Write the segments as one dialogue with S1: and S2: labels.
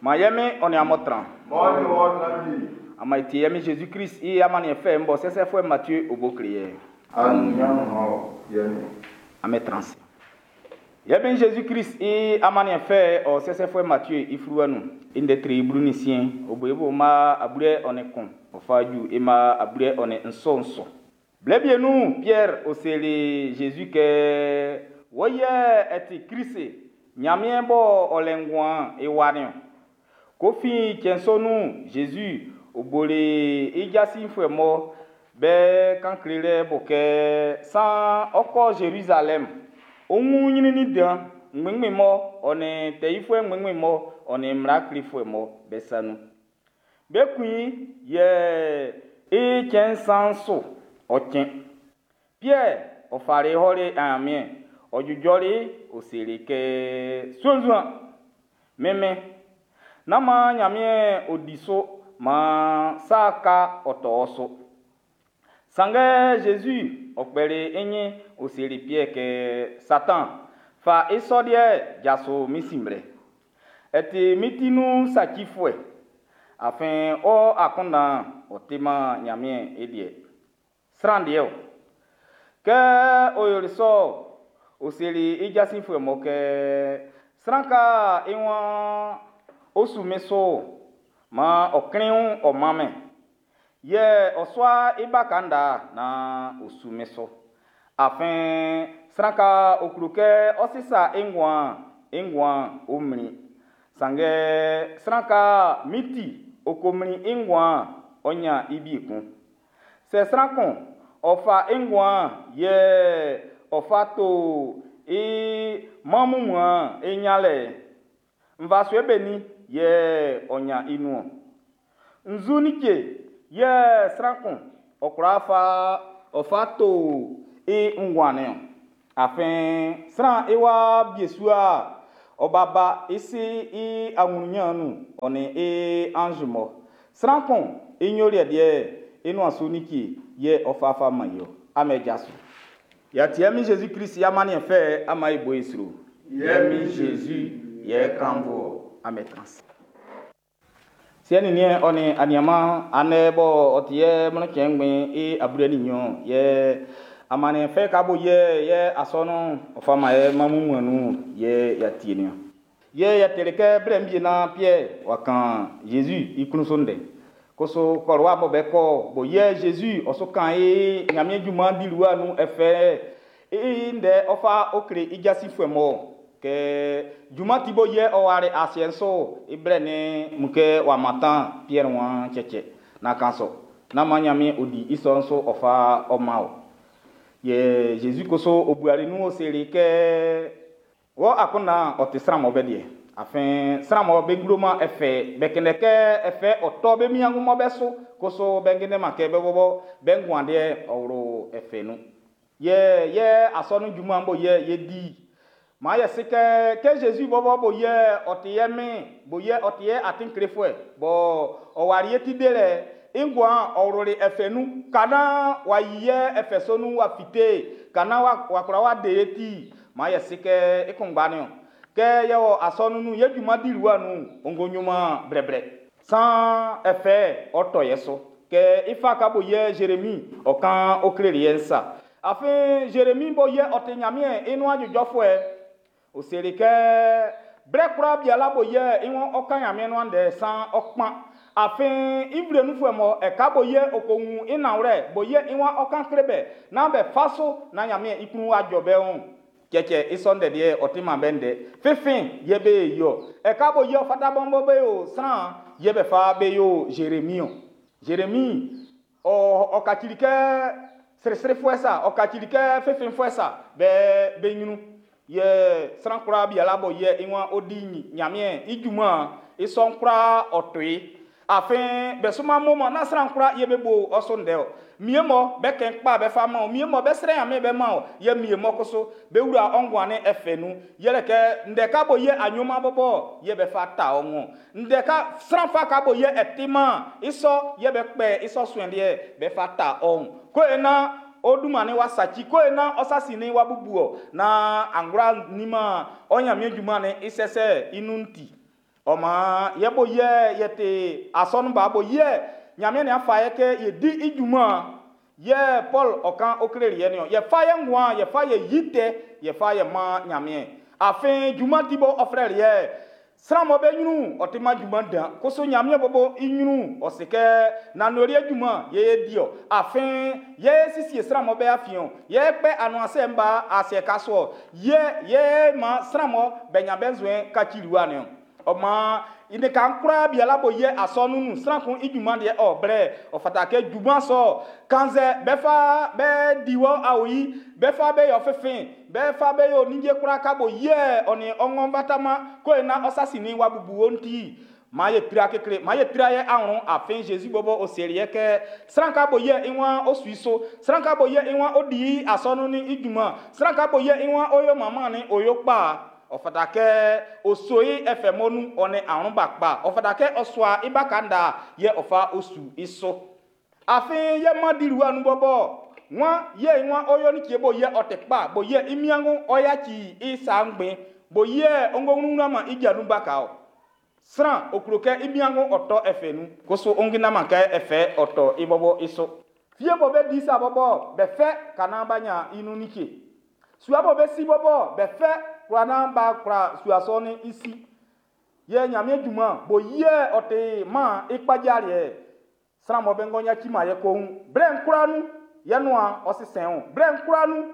S1: Maan yɛ Min ɔ nin amun tran.
S2: Maan ɔ nin wɔ tran wie.
S1: Amun e tie yɛ Min Jésus Christ i amanniɛn fɛ'n bɔ sɛsɛfuɛ Matthieu o bo kle yɛ.
S2: Anunnyan man wɔ, yɛ Min.
S1: Amun tran ase. Yɛ Min Jésus Christ i amanniɛn fɛ'n ɔ sɛsɛfuɛ Matthieu i fluwa nun. I ndɛ tre 16, ɔ bo i bo mma 21, ɔ fa ju i mma 27 su. Blɛ wie nun'n, Pierre ɔ seli Jésus kɛ, Wɔ yɛ ɛ ti Krist, Nyanmiɛn b'ɔ ɔ lɛ nguan'n i wa niɔn. Ko fin cɛn sɔ nun'n, Jésus ɔ boli i jasinfuɛ mɔ be kan klelɛ bo kɛ saan ɔ́ kɔ́ Zerizalɛm, ɔ́ wún ɲrɛnnɛn dan ngbɛnngbɛn mɔ ɔ nin tɛ yifuɛ ngbɛnngbɛn mɔ ɔ nin mmla klefuɛ mɔ be sa nun. Be kun i, yɛ i cɛn nsan su ɔ cɛn. Piɛr ɔ fali ɔli Ɲanmiɛn, ɔ jujɔli, ɔ seli kɛ, Sunnzun, min Min, nán maan Ɲanmiɛn ɔ di su maan sa ka ɔ tɔ ɔ su. Sanngɛ Jésus ɔ kpɛli i ɲin ɔ seli Piɛr kɛ, Satan, fa i sɔ liɛ'n jaso min sin mlɛ. Ɛ ti min ti nun sacifuɛ, afin ɔ akunndan'n ɔ timan Ɲanmiɛn i liɛ. Sran liɛ o. Kɛ ɔ yoli sɔ'n, ɔ seli i jasinfuɛ mɔ kɛ, sran ka i waan ɔ su min su'n, maan ɔ klɛn i wun ɔ man min. Yɛ ɔ sua i baka nda naan ɔ su min su. Afin sran ka ɔ klo kɛ ɔ́ sísa i nguan'n, i nguan'n ɔ mlin. Sanngɛ sran ka min ti ɔ ko mlin i nguan'n, ɔ ɲan i wie kun. Sɛ sran kun ɔ fa i nguan'n yɛ ɔ fa to i mɛn wunmuan'n i ɲanlɛ'n, nvasuɛ benin yɛ ɔ ɲan i nun ɔn? Nzu like yɛ sran kun ɔ kwla fa ɔ fa to i nguan'n niɔn? Afin sran i wa biesua ɔ ba ba i si i aɲrunɲan'n nun ɔ nin i anz mɔ. Sran kun i ɲoliɛ liɛ'n i nuan su like yɛ ɔ fa fa man i ɔ. Amen jaso. Yɛtiɛ min Jésus Christ i amanniɛn fɛ ama i bo i sro.
S2: Yɛ min Jésus
S1: yɛ kanfo amen trans. Siɛ nin niɛn ɔ nin aniaman anɛ bɔ ɔ ti yɛ mlɔnkyɛn ngbɛn i abue nin nɲɔn yɛ amanniɛn fɛ ka bo yɛ yɛ asɔnun ɔ fa man yɛ mamu nun yɛ yɛtie niɔn. Yɛ yɛtɛlɛ kɛ blɛ mbie na Pierre wa kan Jésus i klun so ndɛ. Koso kɔlɔwa bɔ bɛ kɔ bo yɛ Jésus ɔ so kan i Ɲanmiɛn junman diliwa nun ɛfɛ i ndɛ ɔ fa o kle i jasinfuɛ mɔ kɛ junman ti bo yɛ ɔ ware asiɛ'n so i blɛ ni mun kɛ w'a mantan Pierre wan cɛcɛ na kan sɔ na man Ɲanmiɛn ɔ di i sɔ'n so ɔ fa ɔ ma o. Yɛ Jésus koso o buari nun o seli kɛ wɔ akunndan ɔ ti sran mɔ bɛ deɛ. Afin sran mɔ be ngloman ɛfɛ bɛ kɛnɛ kɛ ɛfɛ ɔ tɔ be miangu mɔ bɛ so koso bɛ kɛnɛ ma kɛ bɛ bɔbɔ bɛ nguan deɛ ɔ wlo ɛfɛ nun. Yɛ yɛ asɔnun junman bo yɛ yɛ di. Maa yɛ se kɛ kɛ Jésus bɔbɔ bo yɛ ɔ ti yɛ min bo yɛ ɔ ti yɛ atin klefuɛ bɔ ɔ wari yɛ ti de lɛ i nguan ɔ wloli ɛfɛ nun kana wa yi yɛ ɛfɛ so nun wa fite kana wa wa kura wa de yɛ ti maa yɛ se kɛ i kunngba niɔn. Kɛ yɛ wɔ asɔnun nun yɛ junman diliwa nun ongo ɲuman brɛbrɛ san ɛfɛ ɔ tɔ yɛ so kɛ i fa ka bo yɛ Jérémie ɔ kan o kleli yɛ nsa afin Jérémie bo yɛ ɔ ti Ɲanmiɛn i nuan jɔjɔfuɛ o seli kɛ blɛ kura biala bo yɛ i wɔn ɔ kan Ɲanmiɛn nuan ndɛ san ɔ kpan afin i nvle nunfuɛ mɔ ɛka bo yɛ o ko wun i nanwlɛ bo yɛ i wɔn ɔ kan kle bɛ naan bɛ fa so na Ɲanmiɛn i klun wa jɔ bɛ wun cɛcɛ i sɔ ndɛ deɛ ɔ ti man bɛ ndɛ fifin yɛ be yɔ ɛka bo yɛ ɔ fata bɔnbɔ be yo sran yɛ bɛ fa be yo Jérémie o Jérémie ɔ ɔ kacili kɛ sirisirifuɛ sa ɔ kacili kɛ fifinfuɛ sa bɛ be ɲrun yɛ sran kura biala bɔ yɛ i wan ɔ di Ɲanmiɛn i junman i sɔ'n kura ɔ to yi afin bɛ suma mo ma na sran kura yɛ be bo ɔso ndɛ o mie mɔ bɛ kɛn kpa bɛ fa ma o mie mɔ bɛ srɛ Ɲanmiɛn bɛ ma o yɛ mie mɔ koso bɛ wura ɔnguan ne ɛfɛ nu yɛlɛ kɛ ndɛ ka bo yɛ anyoma bɔbɔ yɛ bɛ fa ta ɔŋɔ ndɛ ka sran fa ka bo yɛ ɛtima i sɔ yɛ bɛ kpɛ i sɔ suɛn deɛ bɛ fa ta ɔŋ ko ena o duma ne wa saci ko ena ɔsasi ne wa bubu o na angora nima ɔnyamie dwuma ne isɛsɛ inun ti. Ɔ maan yɛ bo yɛ yɛ te asɔnun ba bo yɛ Ɲanmiɛn nin afa yɛ kɛ yɛ di i junman yɛ Paul ɔ kan o kleli yɛ niɔn. Yɛ fa yɛ nguan, yɛ fa yɛ yi tɛ, yɛ fa yɛ man Ɲanmiɛn. Afin junman ti bɔ ɔ flɛli yɛ. Sran mɔ be ɲrun ɔ ti man junman dan. Koso Ɲanmiɛn bɔbɔ i ɲrun ɔ se kɛ nanwlɛ junman yɛ yɛ di ɔ. Afin yɛ siesie sran mɔ be afiɛn yɛ kpɛ anuansɛ'n ba asiɛ ka so ɔ. Yɛ yɛ man sran mɔ be nya be nzuɛn kacili wa niɔn. Ɔ maan i ne kan kura biala bo yɛ asɔnun nun sran kun i junman deɛ ɔ blɛ ɔ fata kɛ junman sɔ kannzɛ bɛ fa bɛ di wɔ awoyi bɛ fa bɛ yɔ fɛfɛn bɛ fa bɛ yɔ ninnge kura ka bo yɛ ɔ ni ɔŋɔ batama ko ena ɔsasi ni wa bubu wɔn ti maa yɛ tira kekle maa yɛ tira yɛ ahun afin Jésus bɔbɔ o seli yɛ kɛ sran ka bo yɛ i wan o sui so sran ka bo yɛ i wan o di asɔnun ni i junman sran ka bo yɛ i wan o yo mama ni o yo kpa ɔ fata kɛ o so i ɛfɛ mɔnu ɔ ne ahun ba kpa ɔ fata kɛ ɔ sua i ba kanda yɛ ɔ fa o su i so afin yɛ ma di ruwa nu bɔbɔ wan yɛ i wan o yo ni tie bo yɛ ɔ tɛ kpa bo yɛ i miango ɔ yaci i sa ngbɛn bo yɛ ɔngɔ ma i ja nu ba ka o sran okuro kɛ i miango ɔtɔ ɛfɛ nu koso ongina ma kɛ ɛfɛ ɔtɔ i bɔbɔ i so fie bɔ bɛ di sa bɔbɔ bɛ fɛ kana ba nya inu ni tie sua bɔ bɛ si bɔbɔ bɛ fɛ kura na ba kura sua sɔ ni isi yɛ Ɲanmiɛn junman bo yɛ ɔte ma i kpadza liɛ sran mɔ bɛ ŋgɔ nya tsi ma yɛ ko ŋu blɛ nkura nu yɛ nua ɔsisɛn o blɛ nkura nu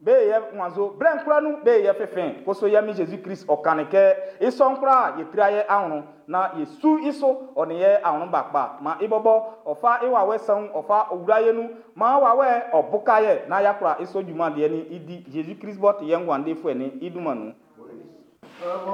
S1: be yɛ wanzo blɛ nkura nu be yɛ fɛfɛn koso yɛ mi Jésus Christ ɔkani kɛ isɔ nkura yɛ tira yɛ ahun na yɛ su iso ɔni yɛ ahun ba kpa ma ibɔbɔ ɔfa iwawɛ sɛn ɔfa owura yɛ nu ma wawɛ ɔbuka yɛ na yakura iso junman deɛ ni idi Jésus Christ bɔ ti yɛ nguan de fuɛ ni iduma nu.